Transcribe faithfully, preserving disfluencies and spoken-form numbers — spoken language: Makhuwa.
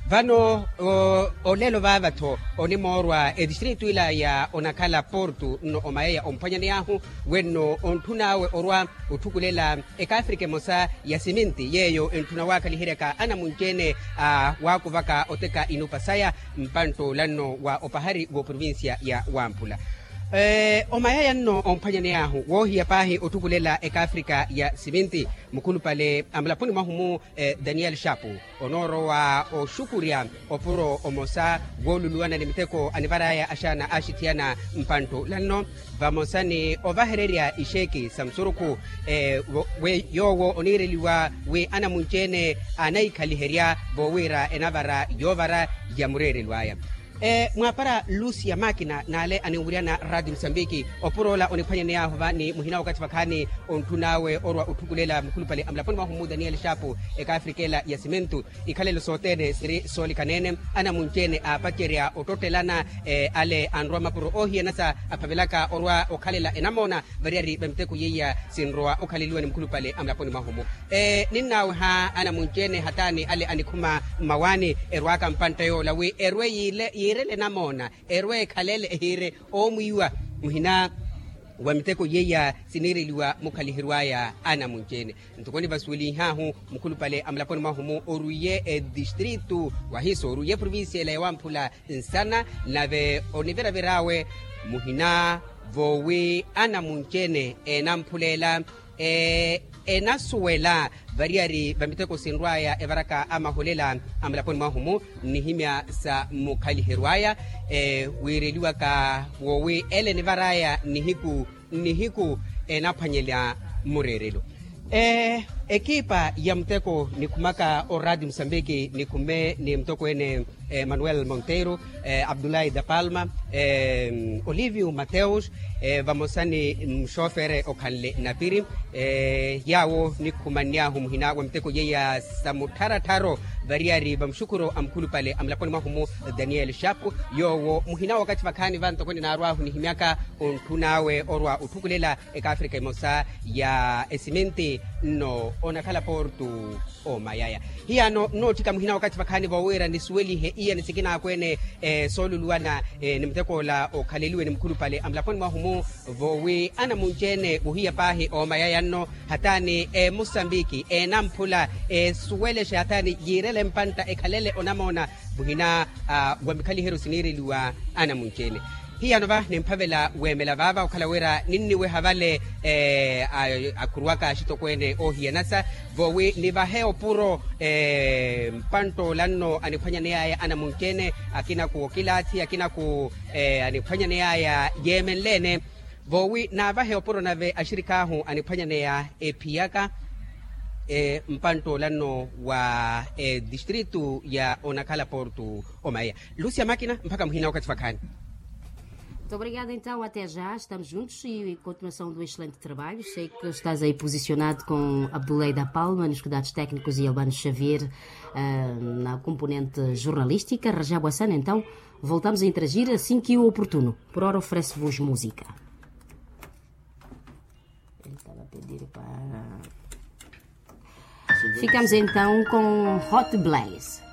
Vano olelo vaava-tho onimoorwa etistritu ila ya onakhala portu nno omayaya omphwanyaney'ahu wenno ontthun'awe orwa otthukulela ekaafrika emosa ya siminti yeeyo entthuna waakhaliheryaka anamunci-ene a waakuvaka oteka inupa saya mpantt'olanno wa opahari w'oprovincia ya wamphula. Omayaya nno omphwanyaney'ahu woohiya paahi otthukulela ekaafrika ya siminti mukhulupale a mulaponi mwahu-mu daniel shapu onoorowa oxukurya opuro omosa wooluluwana ni miteko anivar'aya axaana aaxithiyana mpantt'olanno vamosa ni ovahererya ixeeki sa musurukhu yoowo oniireliwa wi anamunci-ene anahikhaliherya voowira enavara yoovara ya mureerelo aya. Mwaapara lucia makina n'ale aninwuryana raati musambiki opur'ola oniphwanyaney'ahu va ni muhina wakathi vakhaani ontthun'awe orwa otthukulela mukhulupale a mulaponi mwahu-mu daniel shapu ekaafrika ela ya simentu ikhalelo sothene siri soolikana-ene anamunci-ene aapacerya ottottelana ale anrwa mapuro oohiyanasa aphavelaka orwa okhalela enamoona variyari va miteko yeiya sinrowa okhaleliwa ni mukhulupale a mulaponi mwahu-mu ninnaaweha anamunci-ene hataani ale anikhuma mmawaani erwaaka mpantta yoola wi erwe yiirele enamoona erwe ekhalele ehiire oomwiiwa muhina wa miteko yeiya siniireliwa mukhaliheryo aya anamunci-ene ntoko nivasuwelinh'ahu mukhulupale a mulaponi mwahu-mu orwiye etistritu wahiso orwiye provincia ela ya wamphula nsana nave oniviravir'awe muhina voowi anamunci-ene eenamphulela enasuwela variyari va miteko sinrw'aya evaraka amaholela a mulaponi mwahu-mu nnihimya sa mukhaliheryo aya wiireliwaka woowi ele enivar'aya nnihiku nnihiku enaphwanyela mureerelo. Ekipa ya muteko nikhumaka oraati musambiki nikhume ni mutokweene manuel monteiro, abdulahi da palma, olivio mateus, vamosa ni muxofere okhanle napiri yaawo nikhumanny'ahu muhina wa miteko yeiya sa muttharattharro variyari va muxukhuro a mukhulupale a mulaponi mwahu-mu daniel shapu yoowo muhina wakathi vakhaani va ntoko ninarw'ahu nihimyaka ontthun'awe orwa otthukulela ekaafrika emosa ya esiminti nno onakhala portu omayaya hiyano nnootthika muhina wakathi vakhaani voowira nisuwelihe iya ni sikinaakwene sooluluwana ni mutek'ola okhaleliwe ni mukhulupale a mulaponi mwahu-mu voowi anamunci-ene wohiya paahi omayaya nno hataani emusambiki eenamphula esuwelexe hataani yiirele mpantta ekhalele onamoona muhina wa mikhaliheryo siniireliwa anamunci-ene hiyano va nimphavela weemela vaava okhala wira ninniweha vale akhuruwaka axitokweene oohiyanasa voowi nivahe opuro mpantt'olanno aniphwanyaney'aya anamunci-ene akinaku okilaathi akinaku aniphwanyaney'aya yeemenle-ene voowi naavahe opuro nave axirik'ahu aniphwanyaneya ephiyaka mpantt'olanno wa distritu ya onakhala portu omayaya lucia makina mpakha muhina wakathi vakhaani. Muito obrigada então até já estamos juntos e continuação do excelente trabalho sei que estás aí posicionado com abdullah da palma nos cuidados técnicos e albano xavier na componente jornalística rajab hassan então voltamos a interagir assim que o oportuno por hora oferece vos música. Ficamos então com hot blaze.